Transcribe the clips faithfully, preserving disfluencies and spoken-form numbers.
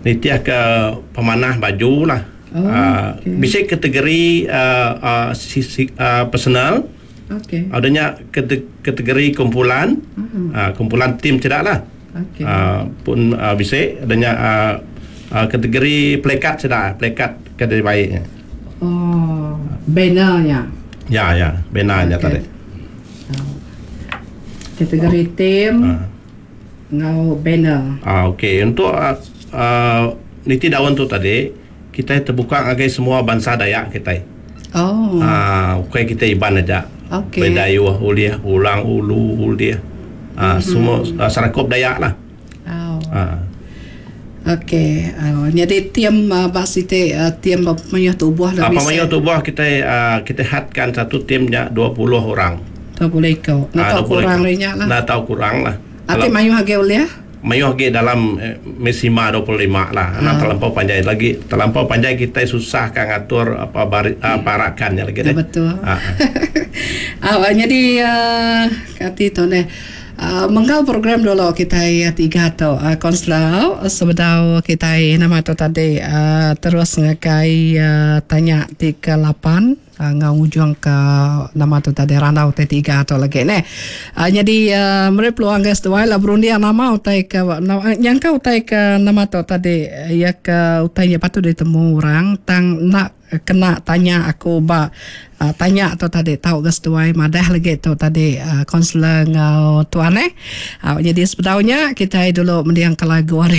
Nitih ke pemanah baju lah. Oh, uh, okey. Bisi kategori uh, uh, si, si, uh, personal. Okey. Adanya kategori kumpulan. Mhm. Uh, kumpulan tim tidak lah. Okey. Uh, pun uh, bisi adanya uh, uh, kategori plekat sudah, plekat kategori baiknya. Oh, bannernya. Ya ya, bannernya Okey. tadi. Oh. Kategori tim Ah. ngau banner. Ah, okey, untuk uh, uh, niti daun tu tadi kita terbuka ngagai semua bansa Dayak kita. Oh. Ah, okey, kita Iban aja. Okey. Bidayuh ulih, Ulang Ulu ulih. Ah, Mhm. semua uh, Serakup Dayak lah. Oh. Ah. Okey, uh, jadi tim uh, bak siti uh, tim pemayuh tubuh Ah, lebih pemayuh tubuh kita uh, kita hadkan satu timnya dua puluh orang. dua puluh ikut. Nak Ah, tahu dua puluh kurang ikut. rinya lah. Nak tahu kurang lah. Ati Kalau mayuh agi ulih? Mayuh agi dalam eh, mesima dua puluh lima lah. Nak Ah. terlampau panjai lagi, terlampau panjai kita susah kan ngatur apa bari, ah, parakannya lagi Ya, deh. betul. Ah, ah. Ah, jadi uh, kati tu ne. Uh, menggal program dulu kita ya tiga tu uh, konselau sebedau kita nama tu tadi uh, terus ngakai uh, tanya tiga lapan uh, ngau ujung ke nama tu tadi randau T tiga tu lagi ne. Uh, jadi uh, meri peluang guys dua lah berundi nama utai ke nama, yang kau utai ke nama tu tadi ya ke utainya patut ditemu orang tang nak kena tanya aku ba uh, tanya tu tadi tahu ke seduai madah lagi tu tadi konselor uh, ngau tuan eh. Uh, jadi sebetulnya kita dulu mendiang ke lagu hari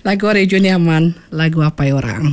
lagu hari Junior Man, lagu apa orang.